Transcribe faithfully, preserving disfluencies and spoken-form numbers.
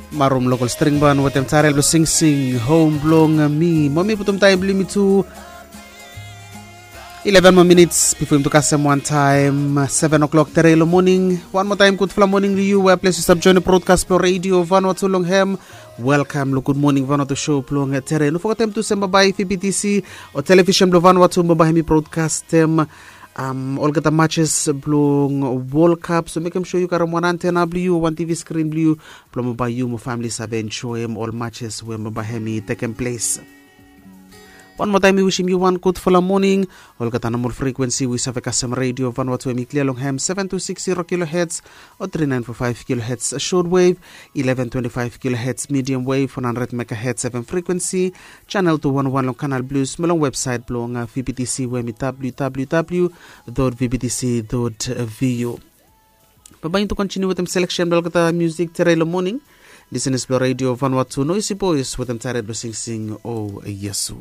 Marum lokol string ban wetem taerel blong singsing hom blong mi. Mo mi putum taem blong yumi tu eleven moa minits bifo yumi tu kasem wantaem seven o'clock tere long moning. Wan moa taem gudfala moning long yu we ples yu stap joinim brodkas blong redio vanua tu long hem. Welkam long gud moning vanua tu show blong tere. No fogetem tu sem babae vbtc o televisen blong vanua tu babae hem i brodkastem um, olgeta matches blong World Cup. So mekem sure yu karem wan antena blong yu o wan tv skrin blong yu blong babae yu mo famili save enjoem ol matches we babae hem i tekem ples. Wan moa taem mi wisim yu wan gudfala moning. Olgeta nomol frekuensi we yu save kasem redio vanua tu hem i klia long hem seven two six zero kilohertz o three nine four five kilohertz short wave, eleven twenty-five kilohertz medium wave, one hundred megahertz fm frekuensi, channel two one one long kanal blues mo long websaet blong uh, vbtc we hem i www vbtc vu. Babae yu tu kontiniu wetem seleksen blong olgeta musik tere long moning. Lisenas blong redio vanua tu noisi bois wetem taerel blong singsing o yesu.